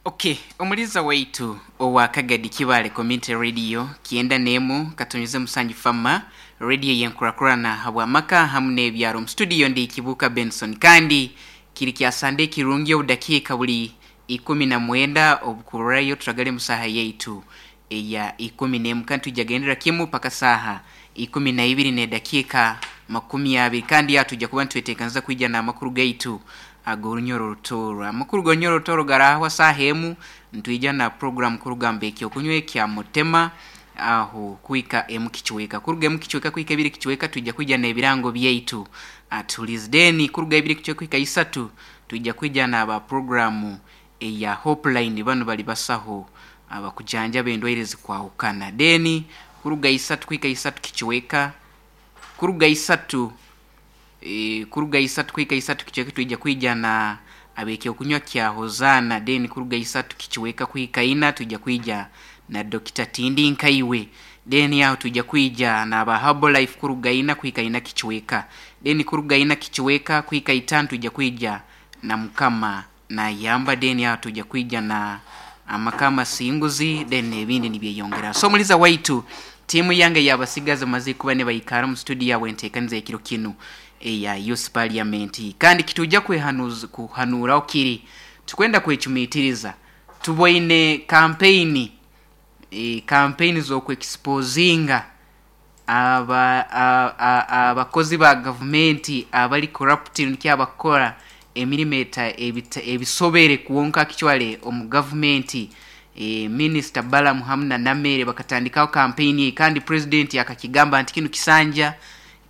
Okay, omuliza waitu owa Kagadi Kibale Community Radio 91 katonyize 7 fama radio yenkurakurana habwamaka hamu n'ebyaro. Mu studio ndi Kibuka Benson, kandi kiri kya Sande kirungi obudakiika buli 19 obukururayo turagale musaha yaitu eya 11, kandi tujagendera kimu paka saha 12 n'edakiika 20, kandi yatujja kuba nitweteekaniza kwija n'amakuru gaitu ag'orunyoro rutoro. Amakuru g'orunyoro rutoro garahwa saaha emu, nitwija na program kurugamba ekyokunywa ekya mutema aho kuhika emu kichweka, kuruga emu kichweka kuhika ebiri kichweka twija kwija n'ebirango byaitu atulize. Then kuruga ebiri kichweka kuhika isatu twija kwija n'aba programu eya Hopeline, banu bali basaho abakujanjaba endwaire zikwahukana. Then kuruga isatu kuhika isatu kichweka, kuruga isatu kuruga isatu kuhika isatu kichweka twija kwija na abekyokunywa kya Hozana. Then kuruga isatu kichweka kuhika ina twija kwija na Dr. Tindi Nkaiwe. Then aho twija kwija na aba Herbalife kuruga ina kuhika ina kichweka. Then kuruga ina kichweka kuhika itano twija kwija na Mukama na Yamba. Then aho twija kwija na amakama singuzi, then ebindi nibyeyongera. So muliza waitu, timu yange yabasigaza maze kuba ne bayikara mu studio yawe enteekaniza ekiro kinu eya Youth Parliament, kandi kituja kwehanuza kuhanuraho kiri tukwenda kwechumitiriza. Tuboine campaign campaign z'okwexposinga abakozi ba gavumenti abali corrupt, nikyo abakora emirimo ebisobere kuwonka kichwale omu gavumenti. Minister Balaam hamu na Namere bakatandikaho campaign, kandi president akakigamba nti kinu kisanja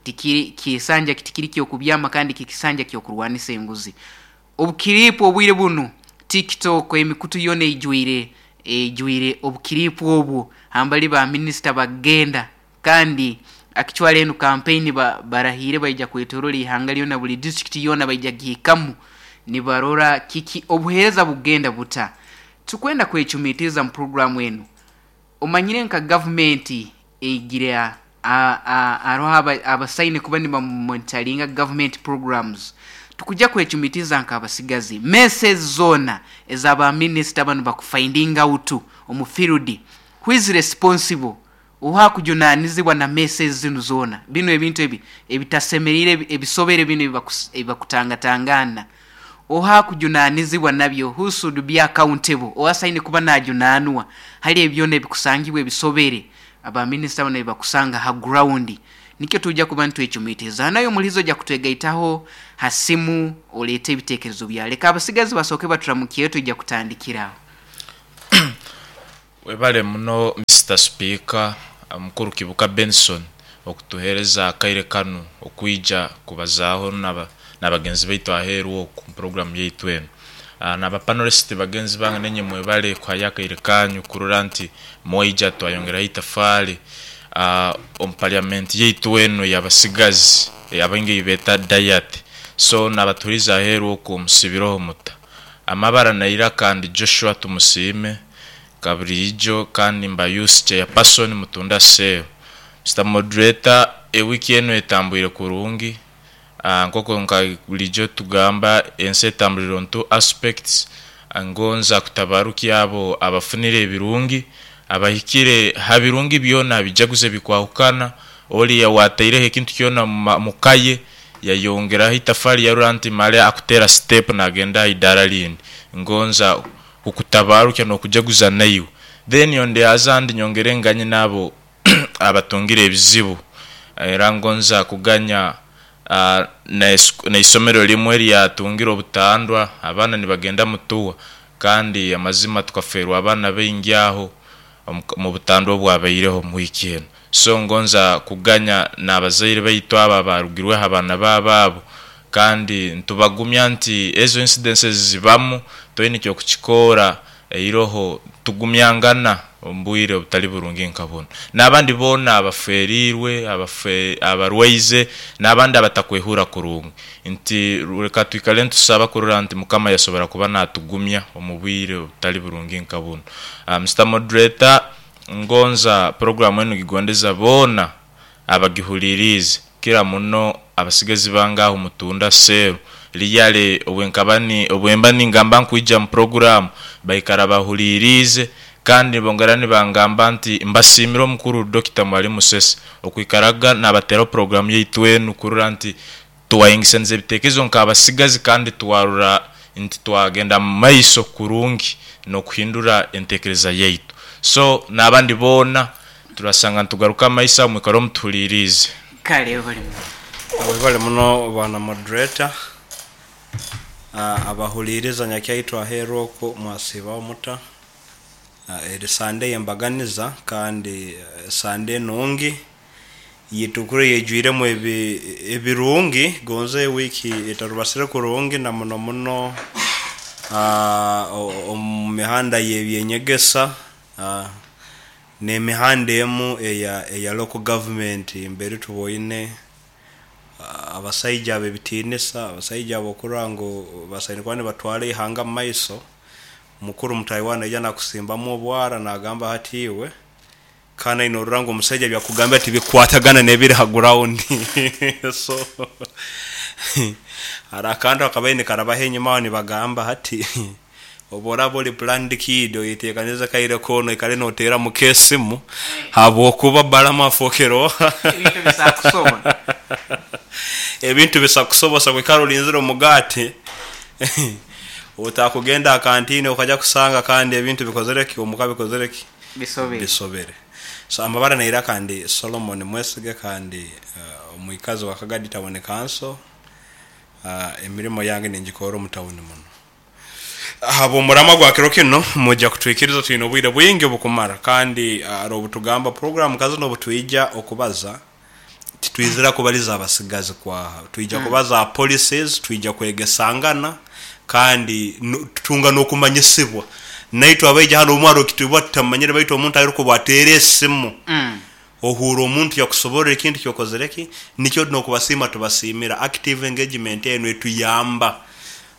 tikiri kisanja kitikiri kyokubyama, kandi kikisanja kyokurwanisa enguzi. Obukiripu obwire bunu TikTok emikutu yona ejwire obukiripu obwo hambali ba minister bagenda, kandi akichwale enu campaign barahire baija kwetorora ihanga lyona, buli district yona baija gihikamu nibarora kiki obuheereza bugenda buta. Tukwenda kwechumitiza mu programu enu. Omanyire nka gavumenti eigira aroho abasaine kuba nibamonitoringa government programs. Tukuja kwechumitiza nka abasigazi message zona ezaba minister banu bakufinding out omu field, who is responsible, oha kujunanizibwa na message zinu zona, bino ebintu ebi ebitasemerire ebisobere bino ebibakutangatangana, oha kujunanizibwa nabyo, who should be accountable, owasaine kuba najunanwa hali ebyona ebikusangibwa ebisobere aba minister bano ebibakusanga ha ground. Nikyo tujja kuba ntwechumitiriza nayo mulizo ja kutwegaitaho hasimu olete ebitekerezo bya leka abasigazi basooke baturamukiye, tujja kutandikiraho. Webale muno Mr Speaker mukuru Kibuka Benson okutuhereza akaire kanu okwija kubazaaho n'abagenzi baitu aheeru oku mu programu yaitu enu. N'aba panelist bagenzi bange nenye mwebale kuhayo akaire kanyu kurora nti mwaija twayongeraho itafaali omu parliament yaitu enu ey'abasigazi abaingi eibeta Diet. So n'abatuhuriza aheeru oku musibireho muta. Amabara naira kandi Joshua Tumusiime kaburiijo kandi mba youth chairperson mutunda cell. Mr Moderator, ewiki enu etambwire kurungi, nkoko nka bulijo tugamba ensi etambulire on two aspects. Ngonza kutabarukya abo abafunire ebirungi, abahikire ha birungi byona bijaguze bikwahukana, oli wataireho ekintu kyona mukaye yayongeraho itafali yarora nti male akutera step nagenda idara lindi. Ngonza kukutabarukya n'okujaguza naiwe. Then on the other hand nyongere nganye nabo abatungire ebizibu, era ngonza kuganya n'eisomero limwe lyatungire obutandwa, abaana nibagenda mutuwa, kandi amazima tukaferwa abaana baingi aho mu butandwa obwabaireho mu wiiki enu. So ngonza kuganya n'abazaire baitu abo abarugirweho abaana baabo abo, kandi ntubagumya nti ezo incidences zibamu, toine ekyokukikora, eiroho tugumyangana omu bwire obutali burungi nka bunu. N'abandi boona abaferirwe, abarwaize, n'abandi abatakwehura kurungi, nti leka twikale nitusaba kurora nti Mukama yasobora kuba natugumya omu bwire obutali burungi nka bunu. Mr Moderator, ngonza programu enu gigondeza boona abagihuliriize, kira muno abasigazi bange aho mutunda seru. Liyale obwenkaba obwemba ningamba nkwija mu program baikara bahuliriize kandi bongera nibangamba nti mbasiimire omukuru Dr. Mwalimu Sese okwikaraga nabateraho program yaitu enu kurora nti twayengesaniza ebitekerezo nk'abasigazi kandi twarora nti twagenda mu maiso kurungi n'okuhindura entekereza yaitu. So n'abandi boona turasanga nitugaruka amaiso aho mwikare omutuhuliriize. Kale bali Webale muno bwana moderator. Abahuliiriza nyakyaitwe aheeru oku mwasiibaho muta? Eri Sunday y'embaganiza kandi Sunday enungi yitukura yejwiremu ebirungi gonze wiiki etarubasire kurungi na muno muno omu mihanda y'ebyenyegesa n'emihanda emu eya local government mbere tuboine abasaija ab'ebitiinisa, abasaija abokurora ngu basaine kuba nibatwara ihanga mu maiso. Mukuru mutaahi wawe naija nakusimbamu obwara nagamba hati iwe kandi norora ngu omusaija ebyakugambira tibikukwatagana n'ebiri ha ground. So haro akantu akabaire nikarabaho enyuma aho nibagamba hati obu oraba ori planned kid oyetekanize kaire koona oikale noteera muka esimu habwokuba Balamu afookere oha? Ebintu bisakusoba. Ebintu bisakusobosa kwikara olinzire omugaati otakugenda ha kantini okaja kusanga kandi ebintu bikozere ki omuka bikozere ki? Bisobere. Bisobere. So amabara nairaka ndi Solomon Mwesige kandi omwikazi wa Kagadi Town Council. Emirimo yange ningikorra omu tawuni muno. Habw'omuramwa gwa kiro kinu mwija kutwikiriza twine obwire bwingi obukumara kandi haroho obutugamba program nka zinu obutwija okubaza titwizira kubaliza abasigazi kwaha, twija kubaza ha policies, twija kwegesangana kandi tutunga n'okumanyisibwa. Naitwe abaija hanu obumwe haroho ekituba tutamanyire baitu omuntu arukuba ateera esimu ohuura omuntu yakusoborra ekintu kyokozere ki, nikyo n'okubasiima tubasiimira. Active engagement enu etuyamba.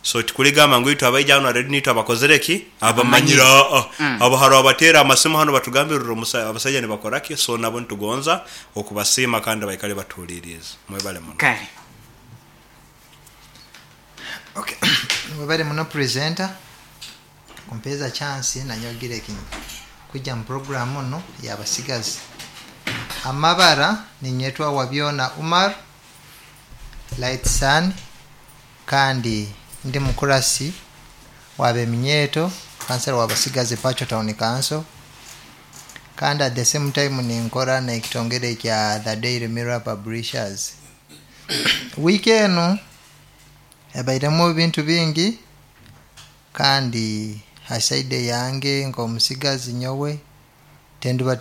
So tikuligamba ngu itwe abaija hanu already nitwe abakozere ki? Abamanyire. Aa, abo haroho abateera amasimu hanu batugambire rora abasaija nibakora ki, so nabo nitugonza okubasiima kandi baikale batuhuliiriize. Mwebale muno. Kale. Okay, webale muno presenter kumpeeza chance nanyowe kwija mu program nu y'abasigazi. Amabara ninyetwa Wabyona Umar Light Sun kandi ndi mukurasi w'abeminyeeto kansela w'abasigazi Pacho Town Council, kandi at the same time ninkora n'ekitongere kya The Daily Mirror Publishers. Wiiki enu ebairemu ebintu bingi kandi ha side yange nk'omusigazi nyowe tenduba.